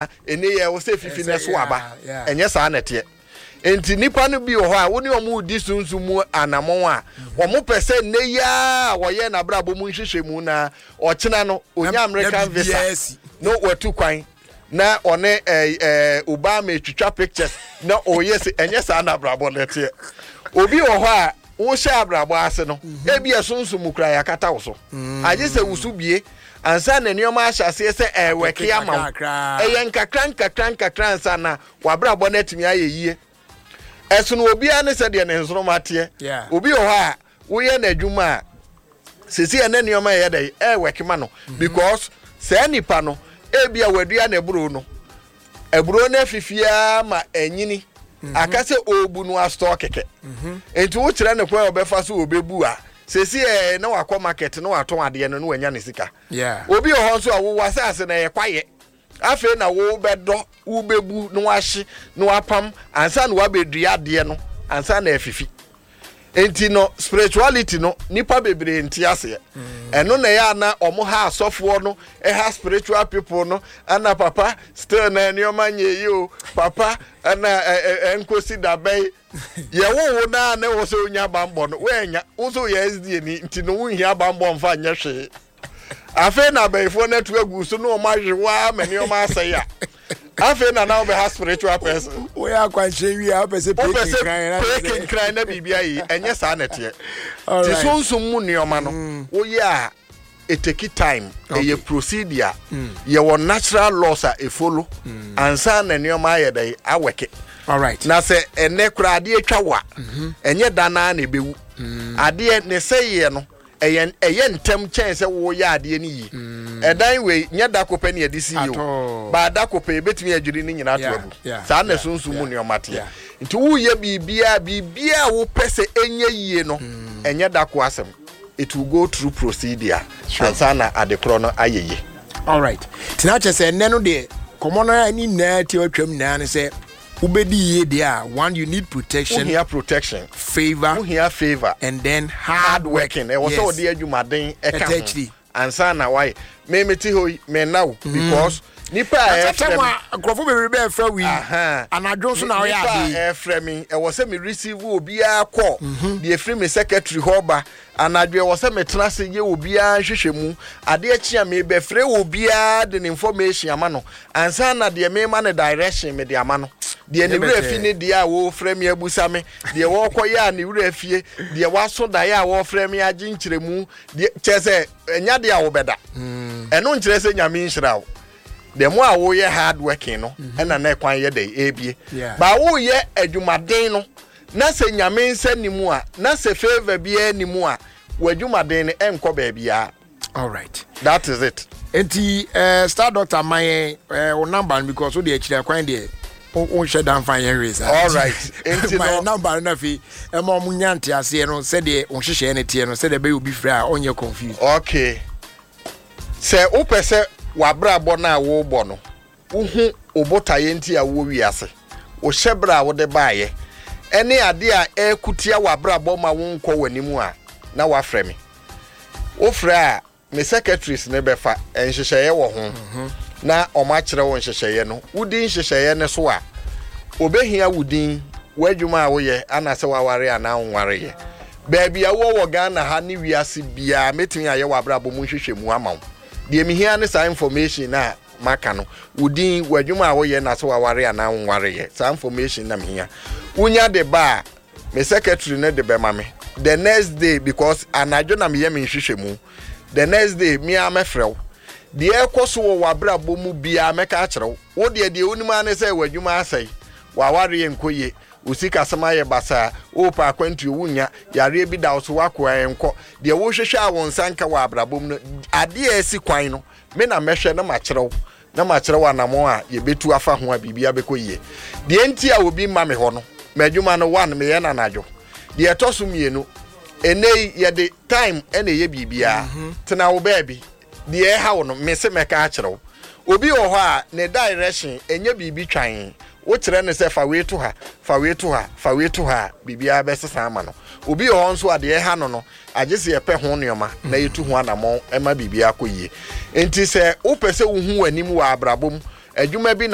Ɛnɛ yɛ wɔ sɛ fifi na ɛso aba. Ɛnyɛ saa na ɛteɛ. Nti nipa no bi wɔ hɔ a wo ne wɔn redi sunsun mu anamɔn a, wɔn pɛ sɛ nnɛ yi ara a wɔyɛ n'abrabɔ mu nhwehwɛ mu na ɔkyena no onya American visa na watu kwan na ɔne ɛɛ ɛɛ Obama etwitwa pictures na ɔyɛ sɛ. Ɛnyɛ saa na abrabɔ no ɛteɛ. Obi wɔ hɔ a wohyɛ abrabɔ ase no, ebi ɛsonsom mu kura yɛakata wo so, agye sɛ woso bie ansa na nneɛma ahyɛ aseɛ sɛ ɛwɛke ama wo. Ɛyɛ nkakra nkakra nkakra ansa na wabrabɔ no atumi ayɛ yie. Ɛsono obiara ne sɛdeɛ ne nsoroma teɛ. Obi wɔ hɔ a woyɛ n'adwuma a, sisi ɛnɛ nneɛma ɛyɛ dɛ ɛwɛke ma no because saa nipa no ebi a wadua n'aburo no, aburo no afifi ara ma anyini, aka sɛ ɔrebu no asotɔ kɛkɛ. Nti wokyerɛ no kwan a ɔbɛfa so ɔbɛbu a, sɛsi ɛɛ na wakɔ market na watɔn adeɛ no na wanya ne sika. Obi wɔ hɔ nso a wowɔ asase na ɛyɛ kwayɛ, afei na wobɛdɔ, wobɛbu na wahye na wapam ansa na wabɛdua adeɛ no ansa na afifi. Nti no spirituality no, nipa bebree nte aseɛ. Ɛno na ɛyɛ ana ɔmo ha asɔfoɔ no, ɛha spiritual people no. Ɛna papa, still na nneɛma nyɛ yi o papa, ɛna ɛ ɛnkosi dabɛn yɛwo wo naa na ɛwɔ sɛ onya bambɔ no, wɔanya wo so yɛ SDA ni, nti no wonhia bambɔ mfa nyɛ hwee. Afei na abɛyifoɔ no atu agu so na ɔmo ahwe waa ma nneɛma asɛe a, afei na wobɛha spiritual person. Woyɛ akwanhyɛ wie a, wopɛ sɛ wopɛ sɛ pee kenkran na biribi ayɛ. Ɛnyɛ saa na ɛteɛ. Nti sunsum mu nneɛma no, woyɛ a, it take time. Ɛyɛ procedure. Yɛwɔ natural laws a ɛfollow ansa na nneɛma ayɛ dɛ awɛke. Na sɛ ɛnɛ koraa adeɛ twa wo a, ɛnyɛ da naa na ɛbɛwu. Adeɛ ne sɛyeɛ no ɛyɛ ntɛm kyɛn sɛ woyɛ adeɛ no yie. Ɛdan wei nyɛ da kopɛ ne yɛde si yi o, baa da kopɛ yɛbɛtumi adwiri ne nyinaa to agu. Saa na sunsum mu nneɛma teɛ. Nti woyɛ biribiara, biribiara a wopɛ sɛ ɛnyɛ yie no, ɛnyɛ da ko asɛm. It will go through procedure ansa na adekorɔ no ayɛ yie. Alright, tena kyɛ sɛ ɛnɛ no deɛ kɔmɔ no ne nyinaa tie atwam nyinaa ne sɛ wobɛdi yie deɛ a, one, you need protection. Wohia protection, favor. Wohia favor and then hard working. Ɛwɔ sɛ wɔde adwumaden ɛka ho ansa na wayɛ. Me mete hɔ yi, me nna wo because nipa a ɛfrɛ me, nkurɔfo bebree bɛɛ frɛ wi anadwo nso na ɔyɛ ade. Nipa a ɛfrɛ me, ɛwɔ sɛ me receive obiara call deɛ efiri me secretary hɔ ba anadwo. Ɛwɔ sɛ metena ase yɛ obiara nhwehwɛ mu. Adeɛ kye a, mebɛfrɛ obiara de ne information ama no ansa na deɛ mema no direction mede ama no. Deɛ ne werɛ fi ne deɛ a wɔrefrɛ me abusa me, deɛ wɔrekɔyɛ a ne werɛ fie, deɛ waso daeɛ a wɔrefrɛ me agye nkyerɛmu deɛ, kyerɛ sɛ ɛnya deɛ a wobɛda. Ɛno nkyerɛ sɛ Nyame nhyira wo. The more a woyɛ hard working no, ɛna na ɛkwan yɛ dɛ ebie. Ba woyɛ adwumaden no na sɛ Nyame nsa ni mu a, na sɛ favour biara ni mu a, w'adwumaden no ɛnkɔ baabiara. Alright. That is it. Nti star doctor, ma yɛn wo number no because wo de akyiri akwan deɛ wonhyɛ da mfa yɛn hwee saa. Alright. Nti ma yɛn number no na afei ɛma ɔmo nya nteaseɛ no sɛdeɛ wo nhyehyɛeɛ no teɛ no, sɛdeɛ ɛbɛyɛ obi frɛ a ɔnyɛ confused. Okay, sɛ wopɛ sɛ w'abrabɔ no a worebɔ no, wohu wo botaeɛ nti a wowɔ wiase, wo hyɛberɛ a wode baeɛ, ɛne adeɛ a ɛrekutia w'abrabɔ ma wonkɔ w'anim a, na woafrɛ me. Wofrɛ a, me secretaries ne bɛfa nhyehyɛeɛ wɔ ho na ɔmo akyerɛ wo nhyehyɛeɛ no. Wodi nhyehyɛeɛ no so a, obɛhia wo din, w'adwuma a woyɛ, ana sɛ waware anaa wonwareyɛ, baabi a wowɔ wɔ Ghana ha ne wiase biara. Mɛtumi ayɛ w'abrabɔ mu nhwehwɛmu ama wo. Deɛ mehia ne saa information a maka no, wo din, w'adwuma a woyɛ, na sɛ waware anaa wonwareyɛ. Saa information na mehia. Wonya de ba a, me secretary no de bɛma me the next day because anadwo na meyɛ me nhwehwɛmu. The next day me ara mɛfrɛ wo. Deɛ ɛkɔ so wɔ w'abrabɔ mu biara mɛka akyerɛ wo. Wo deɛ, deɛ wonim ara ne sɛ w'adwuma asɛe, w'awareɛ nkɔ yie, wo sikasɛm ayɛ basaa, wopɛ akwantuo wonnya, yareɛ bi da wo so woakoa ɛnkɔ. Deɛ wohwehwɛ a wo nsa nka wɔ abrabɔ mu no, adeɛ a ɛsi kwan no, me na mɛhwɛ na makyerɛ wo, na makyerɛ wo anammɔn a yɛbɛtu afa ho a biribiara bɛkɔ yie. Deɛ nti a obi mma me hɔ no, m'adwuma no, one, meyɛ no anadwo. Deɛ ɛtɔ so mmienu, ɛnɛ yi yɛde time ɛna ɛyɛ biribiara. Tena wo baabi, deɛ ɛha wo no, me se mɛka akyerɛ wo. Obi wɔ hɔ a ne direction ɛnyɛ biribi twan. Wokyerɛ no sɛ fa wei to ha, fa wei to ha, fa wei to ha a, biribiara bɛsesa ama no. Obi wɔ hɔ nso a deɛ ɛha no, agye sɛ yɛpɛ ho nneɛma na yɛtu ho anammɔn ma biribiara kɔ yie. Nti sɛ wopɛ sɛ wohu w'anim wɔ abrabɔ mu, adwuma bi na